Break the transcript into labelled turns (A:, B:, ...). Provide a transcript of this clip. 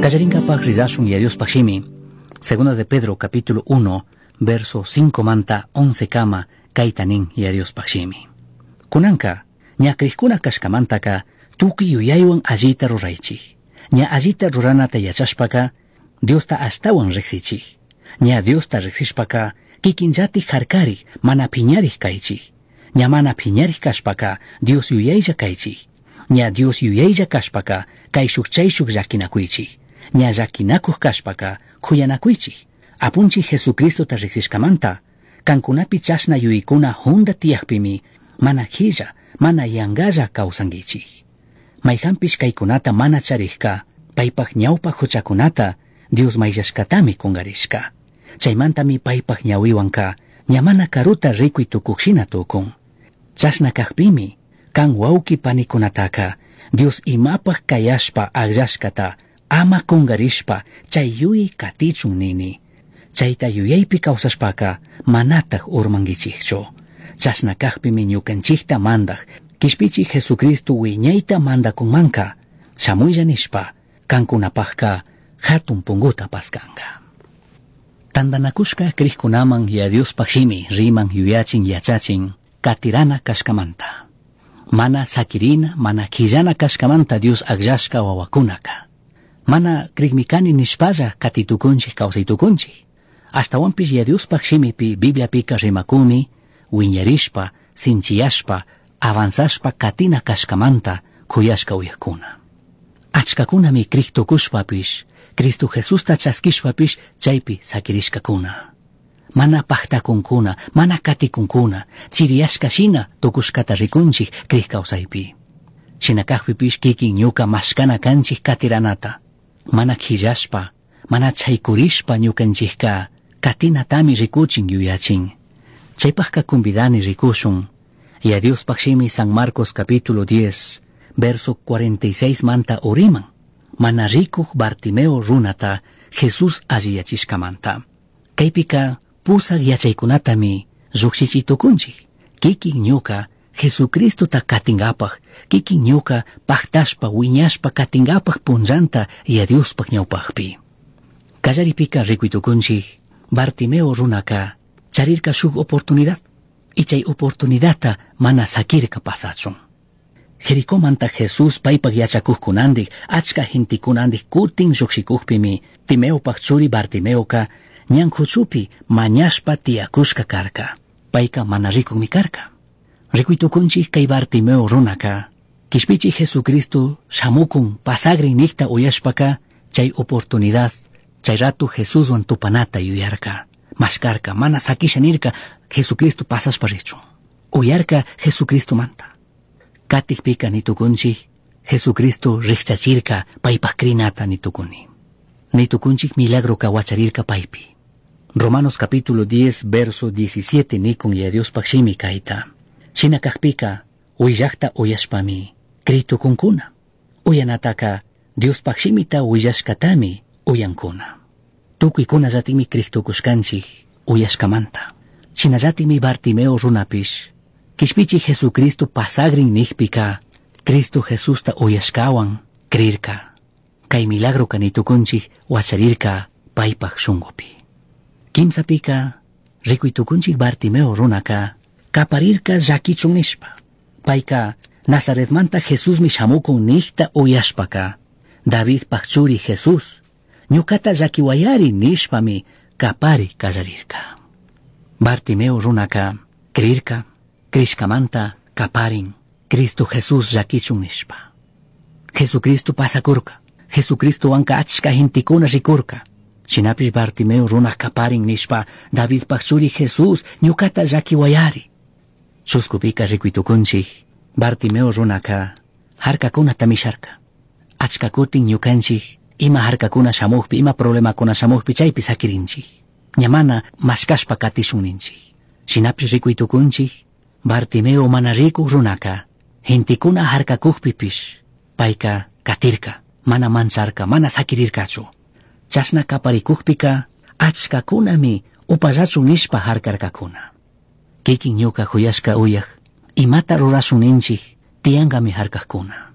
A: Kallarinkapaj rizashun Yaya Diospaj shimi. Segunda de Pedro capítulo 1 verso 5 manta 11 kama kayta nin Yaya Diospaj shimi. Kunanka ña crijkuna kashkamantaka tukuy yuyaywan allita ruraychik. Ña allita ruranata yachashpaka Diosta ashtawan riksichik. Ña Diosta riksishpaka kikinllatik harkarik mana piñarik kaychik. Ña mana piñarik kashpaka Dios yuyaylla kaychik. Ña Dios yuyaylla kashpaka kayshuk chayshuk llakinakuychik. Ña llakinakuq kashpaka kuyanakuychik. Apunchik Jesucristota riksishkamanta kankunapi chashna yuyaykuna hunda tiyakpimi mana qhilla, mana yangalla kawsankichik. Mayhanpish kaykunata mana charikka paypaj ñawpa huchakunata Dios mayllashkatami kungarishka. Chaymantami paypaj ñawiwanka ña mana karuta rikuy tukukshina tukun. Chashna kakpimi kan wawki panikunataka Dios imapaj kayashpa akllashkata ama kungarishpa chay yuyay katichun nini. Chayta yuyaypi kawsashpaka manataj urmankichikchu. Chashna kakpimi ñukanchikta mandaj Kishpichik Jesucristo wiñayta mandakunmanka shamuylla nishpa kankunapajka hatun punguta paskanka. Tantanakushka krikkunaman Yaya Diospaj shimi riman yuyachin yachachin katirana kashkamanta. Mana sakirina, mana quillana kashkamanta Dios akllashka wawakunaka. Mana krikmi kani nishpalla katitukunchik kawsaytukunchik. Ashtawanpish Yaya Diospaj shimipi Bibliapika rimakunmi wiñarishpa, sinchiyashpa, avanzashpa katina kashkamanta kuyashka uyakuna. Achkakunami krik tukushpapish, Cristo Jesusta chaskishpapish chaypi sakirishkakuna. Mana pajtakunkuna, mana katikunkuna, chiriyashka shina tukushkata rikunchik krik kawsaypi. Shina kakpipish kikin ñuka mashkana kanchik katiranata. Mana quillashpa, mana chaykurishpa ñukanchikka katinatami rikuchin yuyachin. Chaypajka kumbidani rikushun. Yaya Diospaj shimi San Marcos capítulo 10, verso 46 manta uriman. Mana rikuj Bartimeo runata Jesús alliyachishkamanta. Kaypika pusak yachaykunatami llukshichi tukunchik. Kikin ñuka Jesucristota katingapaj, kikin ñuka pajtashpa wiñashpa katingapaj punllanta Yaya Diospaj ñawpajpi. Kallaripika rikuy tukunchik, Bartimeo runaka charirka shuk oportunidad, y chay oportunidadta mana sakirka pasachun. Jericomanta Jesús paypaj yachakujkunandik, achka gentekunandik kutin llukshikujpimi, Timeopaj churi Bartimeoka ñan huchupi mañashpa tiyakushka karka. Payka mana rikukmi karka. Rikuy tukunchik kay Bartimeo runaka, kishpichik Jesucristo shamukun pasagrin nikta uyashpaka, chay oportunidad, chay rato Jesuswan tupanata yuyarka. Mashkarka, mana sakisha nirka, Jesucristo pasashpa richun. Uyarka Jesucristo manta. Katikpika nitukunchik, Jesucristo rikchachirka paypaj krinata nitukuni. Nitukunchik milagro wacharirka paypi. Romanos capítulo 10, verso 17 nikun Yaya Diospaj shimi kayta. Shina kakpika, willakta uyashpami, kritukunkuna. Uyanataka, Diospaj shimita willashkatami uyankuna. Tukuykunallatikmi kriktukushkanchik uyashkamanta. Shinallatikmi Bartimeo runapish, kishpichik Jesucristo pasagrin nikpika, Cristo Jesusta uyashkawan krirka. Kay milagro nitukunchik wacharirka paypaj shunkupi. Kimsapika, rikuy tukunchik Bartimeo runaka, kaparirka llakichun nishpa. Payka Nazaretmanta Jesusmi shamukun nikta uyashpaka, Davidpaj churi Jesús, ñukata llakiwayari nishpami kapari kallarirka. Bartimeo runaka krirka, krishkamanta kaparin, Cristo Jesús llakichun nishpa. Jesucristo pasakurka, Jesucristowanka achka gentekuna rikurka. Shinapish Bartimeo runa kaparin nishpa, Davidpaj churi Jesús ñukata llakiwayari. Chuskupika rikuytukunchik, Bartimeo runaka harkakunata misharka. Achka kutin ñukanchik, ima harkakuna shamukpi, ima problemakuna shamukpi chaypi sakirinchik. Ña mana mashkashpa katishun ninchik. Shinapish rikuytukunchik, Bartimeo mana rikuk runaka, gentekuna harkakukpipish, payka katirka, mana mancharka, mana sakirirkachu. Chashna kaparikukpika, achkakunami upallachun nishpa harkarkakuna. Kikin ñuka huyashka uyaj, imata rurashun ninchik, tiyankami harkakuna.